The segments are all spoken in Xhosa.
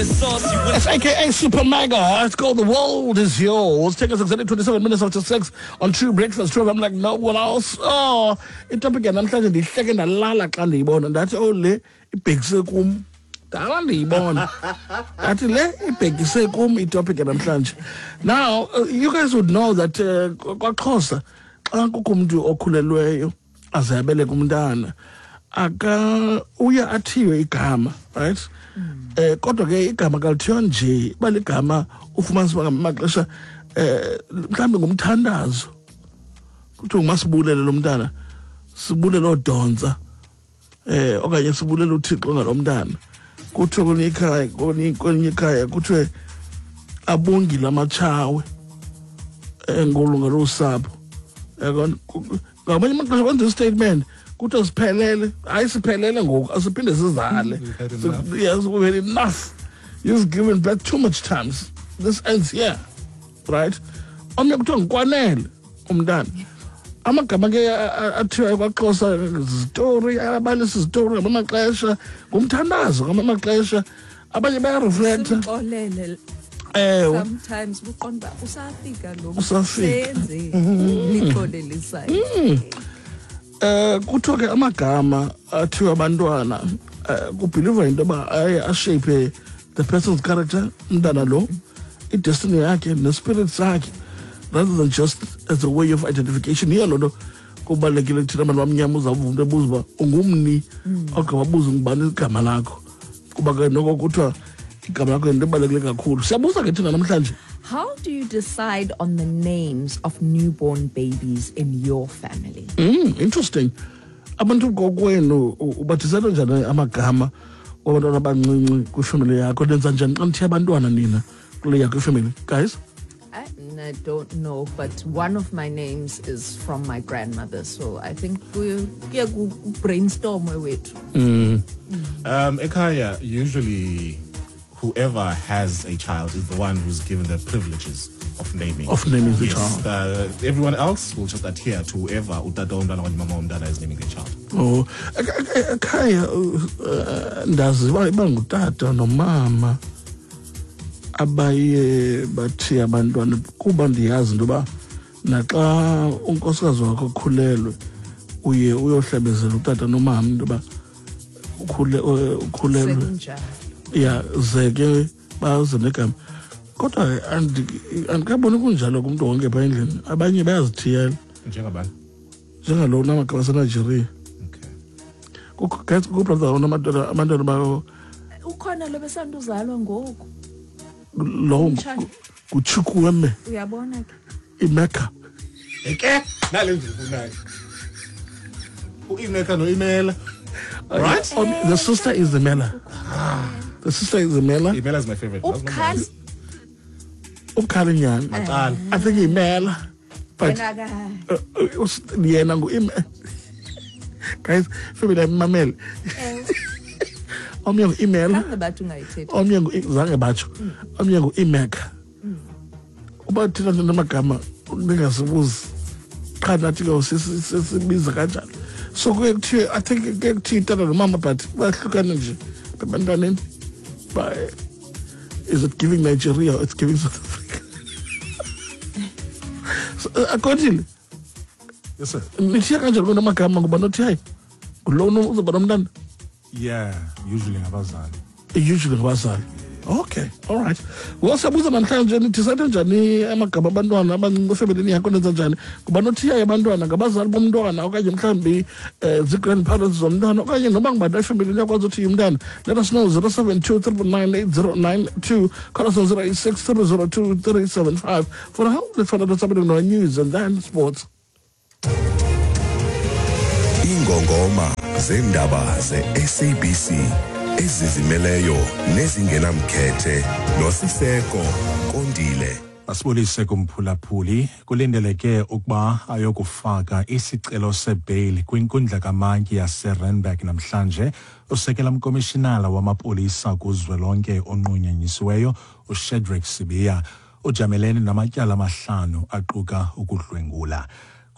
It's AKA Super Mega. It's called The World Is Yours. Take us exactly 27 minutes after 6 on True Breakfast. True, I'm like, no one else. Oh, itopic yanamhlanje ndihleke ndalala xa ndiyibona. Ndathi, oh, le ibhekise kum. Dala ndiyibona. Ndathi le ibhekise kum itopic yanamhlanje. Now, you guys would know that kwaXhosa, xa kukho umntu okhulelweyo, aze abeleke umntana, aka uye athiywe igama, right? Kodwa ke igama kalithiywa nje, iba ligama ufumanisa uba ngamaxesha mhlawumbi ngumthandazo. Kuthiwa ngumasibulele lo mntana, sibulele odontsa, okanye sibulele uThixo ngalo mntana. Kuthiwe kwelinye ikhaya, kwelinye ikhaya kuthiwe abongile amatshawe ngolunga losapho. Yabona, ngamanye amaxesha kwenza istatement kuthiwe siphelele. Hayi, siphelele ngoku, asiphinde sizale. We've had enough. Yes, we've had enough. You've given birth too much times. This ends here, right? Omnye kuthiwa ngukwanele umntana. Amagama ke athiwa kwaXhosa zitori, abalisa izitori ngamanye amaxesha, ngumthandazo ngamanye amaxesha. Abanye bayareflecta. Simxolele. Ewe. Sometimes uqonda uba usafika lo Usafika. msebenzi lixolelisayo. Kuthiwa ke amagama athiwa abantwana, kubhiliva into yoba aye ashape the person's character, umntana lo, idestiny yakhe nespirit sakhe, rather than just as a way of identification. Yiyo loo nto kubalulekile kuthina abantu bamnyama, uzawuva umntu ebuza uba ungumni, ogqiba abuze ngubani igama lakho, kuba ke noko kuthiwa igama lakho yinto ebalulekile kakhulu. Siyabuza ke thina namhlanje. How do you decide on the names of newborn babies in your family? Interesting. Abantu kokwenu ubathisela njani amagama wabantwana abancinci kwifemeli yakho? Nenza njani xa nithiya abantwana nina kule yakho ifemeli, guys? I don't know, but one of my names is from my grandmother, so I think kuye brainstorm wethu. Ekhaya, usually whoever has a child is the one who's given the privileges of naming. Of naming the Yes, child. Everyone else will just adhere to whoever utata womntana okanye mama womntana is naming the child. Oh, ekhaya, ndazi uba ngutata nomama abaye bathiya abantwana, kuba ndiyazi into yoba naxa unkosikazi wakho ukhulelwe uye uyohlebezela utata nomama into yoba ukhulelwe. Sekunjalo. Ya, ze ke baze negama. Kodwa andikaboni kunjalo kumntu wonke phaa endlini. Abanye bayazithiyela. Njengabani? Njengalo unamagama aseNigeria. Okay. Kukho, guys, kukho brother abantwana ba Ukhona lo besanduzalwa ngoku. Lo Umtshana. nguChukwueme. Uyabona ke. Imeka. Eke, nale nje ufunayo. U-Imeka no-Imela. Right? Oh, the sister is Imela. The sister is Imela. Imela is my favorite. Ubukhali. Ubukhali nyani. Maqala. I think Imela. But Yena ka- yena ngu-Ime. Guys, family mamele. Omnye ngu-Imela. Zange bathi ungayithethi. Omnye ngu-, zange batsho. Omnye ngu-Imeka. Uba thina nje namagama ningasibuzi. Qha nathi ke sisibiza kanjalo. So kuye kuthiwe, I think kuye kuthiwe itata nomama, but bahlukane nje ebantwaneni. But is it giving Nigeria or it's giving South Africa? So, accordingly, Yes, sir. Nithiya kanjani kona amagama ngoba nothi hayi ngulo uzoba nomntana? Yeah, usually ngabazali. Usually ngabazali. Okay, all right. Well, siyabuza namhlanje nidecide njani amagama abantwana abancinci efemelini yakho, nenza njani? Ngoba nothiya abantwana ngabazali bomntwana okanye mhlawumbi zii-grandparents zomntwana okanye noba ngubani efemelini yakho azothi umntana. Let us know 072 999 8092. Call us on 086 302 375. For now, let's find out what's happening on our news and then sports. Ingongoma zendaba ze-SABC ezizimeleyo nezingenamkhethe noSiseko Kondile. Asibulise kumphulaphuli. Kulindeleke ukuba ayokufaka isicelo sebail kwinkundla kamantyi yaseRandburg namhlanje usekela mkomishinala wamapolisa kuzwelonke onqunyanyisiweyo uShadrack Sibiya, ujamelene namatyala amahlanu aquka ukudlwengula.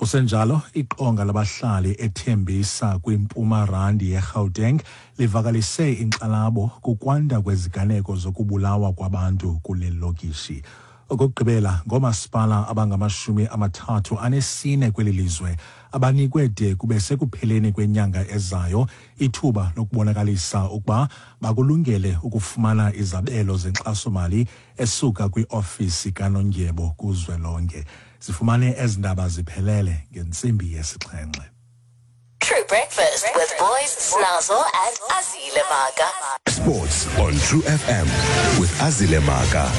Kusenjalo, iqonga labahlali eThembisa kwiMpuma Randi yeGauteng livakalise inkxalabo kukwanda kweziganeko zokubulawa kwabantu kule lokishi. Okokugqibela, ngoomasipala abangama-34 kweli lizwe abanikwe de kube sekupheleni kwenyanga ezayo ithuba lokubonakalisa ukuba bakulungele ukufumana izabelo zenkxasomali esuka kwiofisi kaNondyebo kuzwelonke. Zifumane ezi ndaba ziphelele ngentsimbi yesixhenxe. True Breakfast with Boys, Snazzle, and Azile Maka. Sports on True FM with Azile Maka.